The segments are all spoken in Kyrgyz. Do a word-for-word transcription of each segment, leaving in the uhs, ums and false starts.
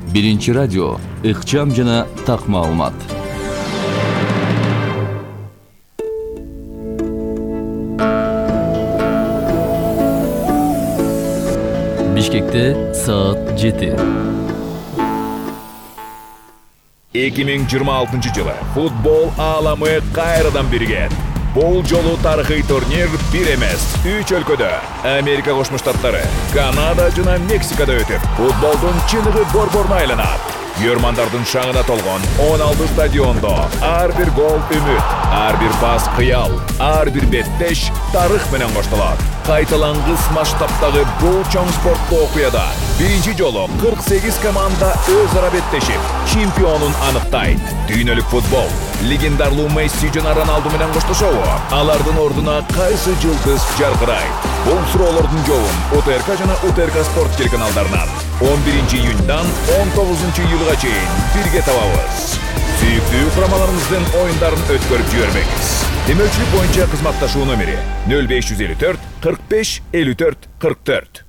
Биринчи радио, ыкчам жана так маалымат. Бишкекте саат жети. эки миң жыйырма алтынчы жылы футбол ааламы кайрадан бирген. Бул жолу тарыхый турнир бир эмес, үч өлкөдө, Америка Кошмо Штаттары, Канада жана Мексикада өтүп, футболдун чыныгы борборуна айланат. Көрмандардын шаңына толгон он алты стадиондо ар бир гол үмүт, ар бир пас кыял, ар бир беттеш тарых менен коштолот. Кайталангыс масштабтагы бул чоң спорттуу окуяда биринчи жолу кырк сегиз команда өз ара беттешип, чемпионун аныктайт. Дүйнөлүк футбол легендарлуу Месси жана Роналду менен коштошобу? Алардын ордуна кайсы жылдыз жаркырайт? Бул суроолордун жообун УТРК жана УТРК спорт телеканалдарынан он биринчи июньдан он тогузунчу июлга чейин бирге табабыз. Сүйүктүү курамаларыбыздын оюндарын өткөрүп жибербеңиз. Демөөлчүлүк боюнча кызматташуу номери нөл беш жүз элүү төрт кырк беш элүү төрт кырк төрт.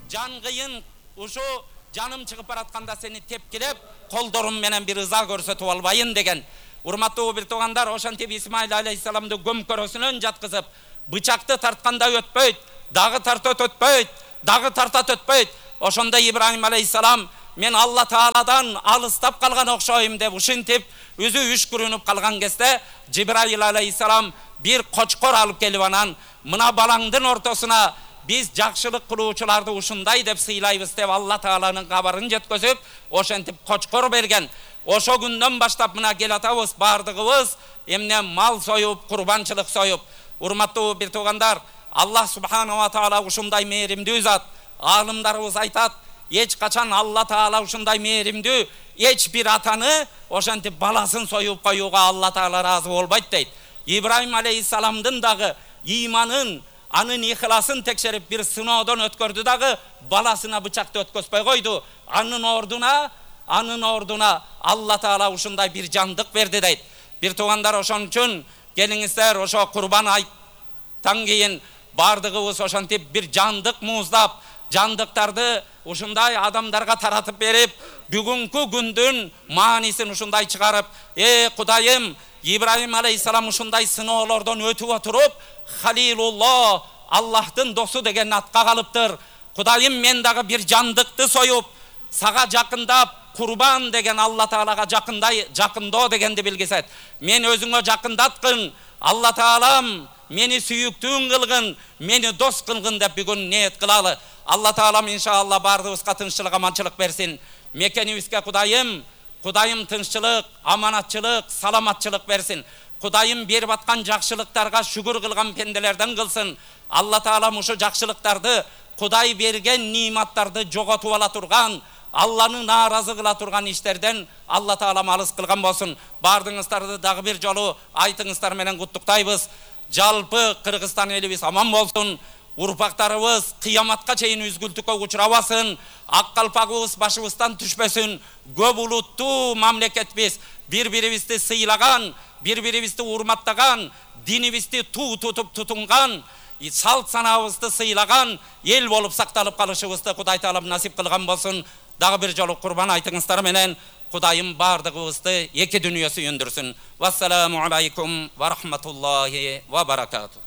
Жан кыйын ушу жаным чыгып баратканда сени тепкилеп, колдорум менен бир ыза көрсөтүп албайын деген. Урматтуу бир туугандар, ошентип Исмаил алейхисаламды көмкөрөсүнөн жаткызып, бычакты тартканда өтпөйт, дагы тартат өтпөйт, дагы тартат өтпөйт. Ошондо Ибрахим алейхисалам мен Алла Тааладан алыстап калган окшойм деп ушинтип өзү үшкүрүнүп калган кезде Жибраил алейхисалам бир кочкор алып келип анан мына балаңдын ортосуна биз жакшылык кылуучуларды ушундай деп сыйлайбыз деп Алла Тааланын кабарын жеткизип, ошентип кочкор берген. Ошо күндөн баштап мына кел атабыз бардыгыбыз эмне мал союп, курбанчылык союп. Урматтуу бир туугандар, Аллах субханаху ва таала ушундай мээримдүү зат. Алымдарыбыз айтат, эч качан Алла Таала ушундай мээримдүү эч бир атаны ошентип баласын союп коюуга Алла Таала ыраазы болбойт дейт. Ибрахим алейхисаламдын дагы иманын, анын ихласын текшерип бир сыноодон өткөрдү дагы баласына бычакты өткөзбөй койду. Анын ордуна, анын ордуна Алла Таала ушундай бир жандык берди дейт. Бир туугандар, ошон үчүн келиңиздер ошо курбан айттан кийин бардыгыбыз ошентип бир жандык мууздап, жандыктарды ушундай адамдарга таратып берип, бүгүнкү күндүн маанисин ушундай чыгарып, э Кудайым, Ибрахим алейхисалам ушундай сыноолордон өтүп отуруп, Халилулло, Аллахтын досу деген атка калыптыр. Кудайым, мен дагы бир жандыкты союп, сага жакындап, курбан деген Алла Таалага жакындай, жакындоо дегенди билгизет. Мен өзүңө жакындаткын, Алла Таалам мени сүйүктүүң кылгын, мени дос кылгын деп бүгүн ниет кылалы. Алла Таалам иншалла бардыгыбызга тынччылык, аманчылык берсин. Мекенибизге Кудайым, Кудайым тынччылык, аманатчылык, саламатчылык берсин. Кудайым берип аткан жакшылыктарга шүгүр кылган пенделерден кылсын. Алла Таалам ушу жакшылыктарды, Кудай берген ниматтарды жоготуп ала турган, Алланы нааразы кыла турган иштерден Алла Таалам алыс кылган болсун. Бардыгыңыздарды дагы бир жолу айтыңыздар менен куттуктайбыз. Жалпы Кыргызстан элибиз аман болсун. Урпактарыбыз кыяматка чейин үзгүлтүккө учурабасын, ак калпагыбыз башыбыздан түшпөсүн. Көп улуттуу мамлекетбиз, бири-бирибизди сыйлаган, бири-бирибизди урматтаган, динибизди туу тутуп тутунган, салт санабызды сыйлаган эл болуп сакталып калышыбызды Кудай Таалам насип кылган болсун. Дагы бир жолу курбан айтыңыздар менен Кудайым бардыгыбызды эки дүнүйө сүйүндүрсүн. Вассаламу алейкум ва рахматуллахи ва баракату.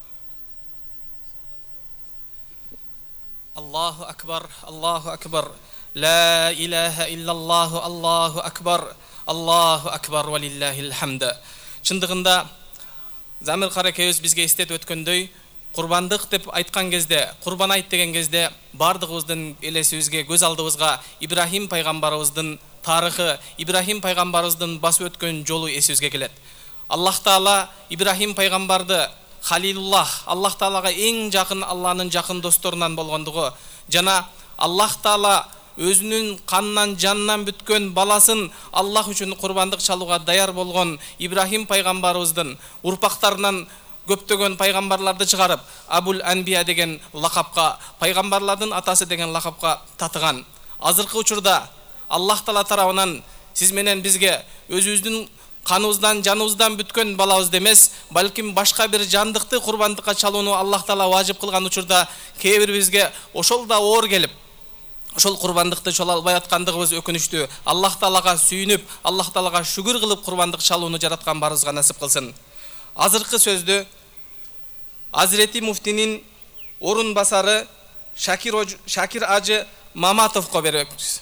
Аллаху акбар, Аллаху акбар, ла илаха иллаллаху, Аллаху акбар, Аллаху акбар ва лиллахил хамда. Чындыгында Замир каракебиз бизге эстетип өткөндөй, курбандык деп айткан кезде, курбан айт деген кезде бардыгыбыздын элесибизге, көз алдыбызга Ибрахим пайгамбарыбыздын тарыхы, Ибрахим пайгамбарыбыздын басып өткөн жолу эсибизге келет. Аллах Таала Ибрахим пайгамбарды Халилуллах, Аллах Таалага эң жакын, Алланын жакын досторунан болгондугу жана Аллах Таала өзүнүн канынан, жанынан бүткөн баласын Аллах үчүн курбандык чалууга даяр болгон Ибрахим пайгамбарыбыздын урпактарынан көптөгөн пайгамбарларды чыгарып, Абул Анбия деген лакапка, пайгамбарлардын атасы деген лакапка татыган. Азыркы учурда Аллах Таала тарабынан сиз менен бизге өзүбүздүн каныбыздан, жаныбыздан бүткөн балабыз эмес, балким башка бир жандыкты курбандыкка чалууну Аллах Таала важип кылган учурда кээ бир бизге ошол да оор келип, ошол курбандыкты чала албай аткандыгыбыз өкүнүчтүү. Аллах Таалага сүйүнүп, Аллах Таалага шүгүр кылып курбандык чалууну жараткан барыбызга насип кылсын. Азыркы сөздү Азирети муфтинин орун басары Шакир Шакир Ажы Маматовго беребиз.